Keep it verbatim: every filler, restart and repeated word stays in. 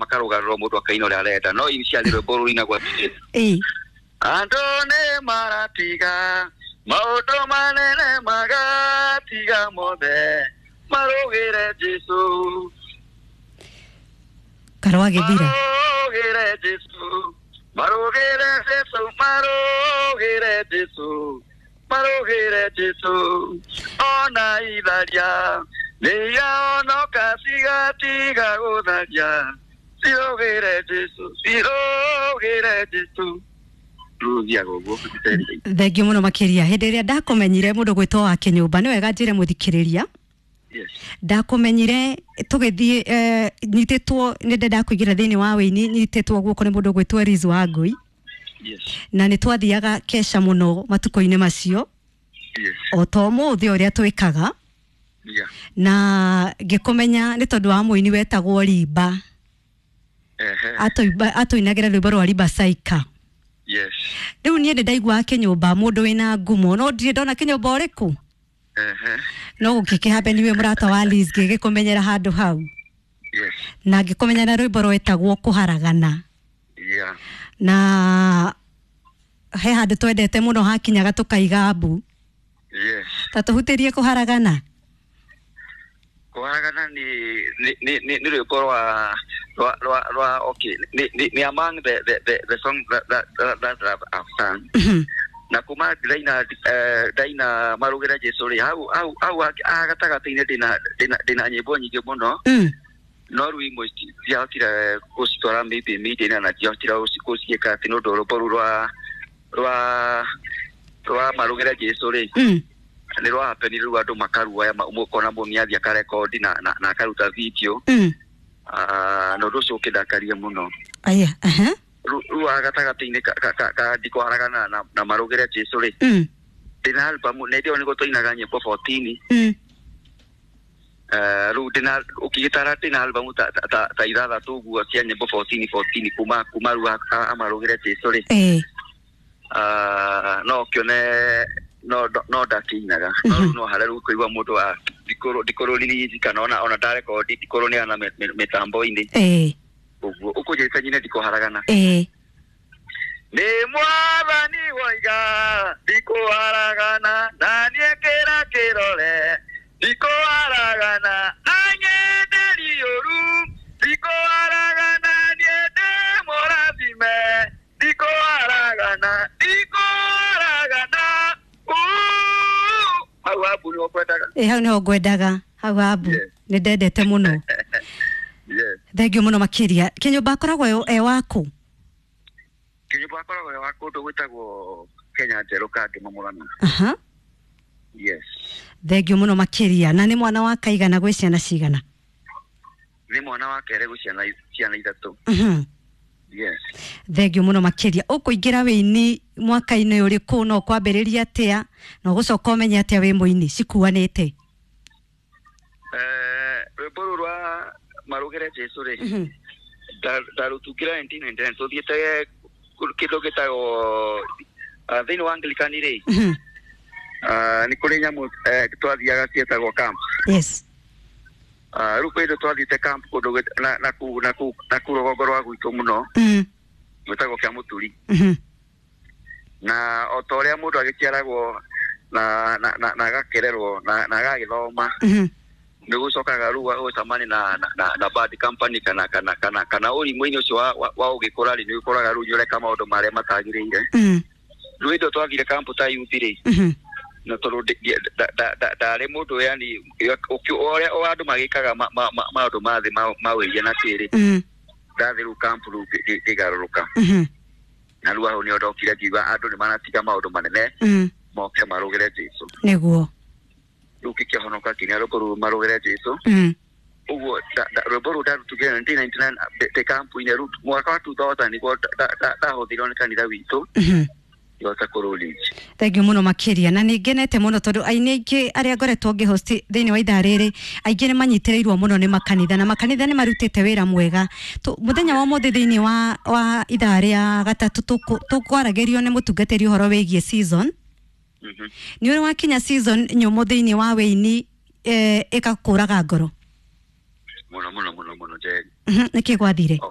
makarũgarũrwo mũndũ akaina ũrĩa arenda, no initially rwĩmbo rũinagwo atĩrĩrĩ: Ĩĩ. Andũ nĩ maratiga maũndũ manene, magatiga mothe, marũgĩre Jesu. Karwagĩthira. Marũgĩre Jesu, marũgĩre Jesu, marũgĩre Jesu, marũgĩre Jesu. Ona itharia nĩiraonoka, cigatiga gũtharia, cirũgĩre Jesu, cirũgĩre Jesu. Rũthiaga ũguo. Thengiũ mũno makĩria. Hĩndĩ ĩrĩa ndakũmenyire, mũndũ gwĩtwo wa Kĩnyũmba, nĩ wega njĩre mũthikĩrĩria, yes ndakũmenyire tũgĩthiĩ, eh, nyitĩtwo nĩ ndenda kũingĩra thĩinĩ wa wĩini, nyitĩtwo guoko nĩ mũndũ gwĩtwo Liz Wangui. Yes na nĩ twathiaga kesha mũno matukũ-inĩ macio, yes o ta ũmũthĩ ũrĩa twĩkaga. Yeah na ngĩkũmenya nĩ tondũ wa mũini wetagwo Rimba. Ehe. Atũimba- atũinagĩra rwĩmbo rwa Rimba Saika. Yes rĩu niĩ nĩ ndaiguaga Kĩnyũmba mũndũ wĩna ngumo, no ndirĩ ndona Kĩnyũmba ũrĩkũ. Ehe. No gũkĩkĩhambe niwe mũrata wa Liz, ngĩgĩkũmenyera handũ hau. Yes na ngĩkũmenya na rwĩmbo rwetagwo Kũharagana. Yeah Na he handũ twendete mũno hakinyaga tũkaiga mbu. Yes ta tũhutĩrie Kũharagana. Kũharagana nĩ nĩ nĩ nĩ nĩ rwĩmbo rwa rwa rwa rwa okay, nĩ nĩ nĩ among the the the, the songs that that that, that I've, I've sung. Mhm. Na kuma ndaina eh, ndaina Marũgĩre Jesu rĩ, hau hau hau haha gatagatĩ-inĩ ndĩna ndĩna ndĩna nyĩmbo nyingĩ mũno. Mm. No rĩu imwe ci- ndiahotire gũcitwara maybe media na ndiahotire gũci- gũciĩka atĩ nĩ ũndũ rwĩmbo rũu rwa rwa rwa Marũgĩre Jesu rĩ, Mm. nĩ rwa happen rĩu andũ makaruoya, ũkona mũndũ nĩ athiĩ akarekondi na, na, na akaruta video. Mm. Ah, na ũndũ ũcio ũkĩndakaria mũno. Aya, aha. Rĩu rĩu haha gatagatĩ-inĩ ka- ka- ka- ka Ndikũharagana na, na Marũgĩre Jesu rĩ, Mm. ndĩna album na ĩndĩ ĩyo nĩguo twainaga nyĩmbo fourteen. Mm. Eh, rĩu ndĩna ũkĩgĩtara ndĩna album ta, ta, ta, ta ithathatũ ũguo cia nyĩmbo fourteen fourteen kuma kuma rĩu a- amarũgĩre Jesu rĩ. Eh. Ah, no ũkĩone no no ndakĩinaga, no rĩu no harĩa rĩu kũigua mũndũ wa ndikũrũ ndikũrũ release kana ona ona ndarekondi ndikũrũ nĩ mĩtambo-inĩ. Eh. Ũguo ũkũnjĩrĩte nyine Ndikũharagana. Eh. Nĩ mwathani woiga ndikũharagana, na niĩ kĩra kĩrore ndikũharagana, anyenderi ũru ndikũharagana, niĩ ndĩ mũrathime ndikũharagana, ndikũharagana. Uu, hau habu nĩho kwendaga. Eh, hau niho ngwendaga, hau habu. Yes. Nĩ ndendete mũno. Yes. Thengiũ mũno makĩria. Kĩnyũmba akoragwo e- e waku? Kĩnyũmba akoragwo wa kũndũ gwĩtagwo Kenya Njerũ, Kangema, Mũrang'a. Aha. Yes. Thengiũ mũno makĩria. Na nĩ mwana wa kaigana gwĩ ciana cigana? Nĩ mwana wa kerĩ gwĩ ciana ciana ithatũ. Mhm. Yes. Thengiũ mũno makĩria. Ũkũingĩra wĩini mwaka-inĩ ũrĩkũ, na ũkwambĩrĩria atĩa, na ũgũcoka ũmenye atĩa wĩ mũini cikuanĩte? Eh, rwĩmbo rũu rwa Marũgĩre Jesu rĩ, Mhm. nda- ndarũtungire nineteen ninety-nine tũthiĩte kĩndũ gĩtagwo ah, thĩinĩ wa Anglican rĩ, Mhm. ah, nĩ kũrĩ nyamũ eh, twathiaga ciĩtagwo camp. Yes Ah, rĩu kwĩ hĩndĩ twathiĩte camp kũndũ gwĩ- na- naku naku naku rũgongo rwa gwitũ mũno, Mm. gwĩtagwo kĩa Mũturi. Mhm. Na o ta ũrĩa mũndũ agĩciaragwo na na na na agakĩrerwo na na agagĩthoma, Mhm. nĩ gũcokaga rĩu gũcemania na na na, na bad company kana kana kana kana ũrimũ-inĩ ũcio wa, wa, wa ũgĩkũra rĩ, nĩ ũkoraga rĩu nĩ ũreka maũndũ marĩa matagĩrĩire. Mm. Rĩu hĩndĩ ĩyo twathire camp ta youth rĩ, Mhm. na tondũ ndi- ndi- nda- nda- nda- ndarĩ mũndũ yani ũkĩ- ũrĩa o andũ magĩkaga ma- ma- ma- maũndũ ma thĩ ma- ma wĩiria na kĩrĩ, Mm. ndathĩ rĩu camp rĩu ngĩ- ngĩ- ngĩgarũrũka. Mhm. Na rĩu hau nĩho ndokire ngiuga andũ nĩ maratiga maũndũ manene, Mm. moke marũgĩre Jesu. Nĩguo. Rĩu ngĩkĩhonoka nginya rwĩmbo rũu Marũgĩre Jesu. Mm. Ũguo nda- nda- rwĩmbo rũu ndarutugire nineteen ninety-nine ndĩ kampu-inĩ. Rĩu mwaka wa two thousand nĩguo nda- nda- ndahũthĩrwo nĩ kanitha witũ, Mhm. ngĩhota kũrũ-release. Thengiũ mũno makĩria, na nĩ ngenete mũno tondũ aini aingĩ arĩa ngoretwo ngĩhost thĩinĩ wa ithaa rĩrĩ, aingĩ nĩ manyitĩrĩirwo mũno nĩ makanitha, na makanitha nĩ marutĩte wĩra mwega. Tu- mũthenya wa ũmũthĩ thĩinĩ wa, wa ithaa rĩa gatatũ tũkũ- tũkwaragĩrio nĩ mũtungatĩri ũhoro wĩgiĩ season. Mhm. Nĩ ũrĩ wakinya season nyũmũ thĩinĩ wa wĩini, eh, ĩgakũraga ngoro? Mũno mũno mũno mũno, Njeri. Mhm, nĩkĩ gwathire?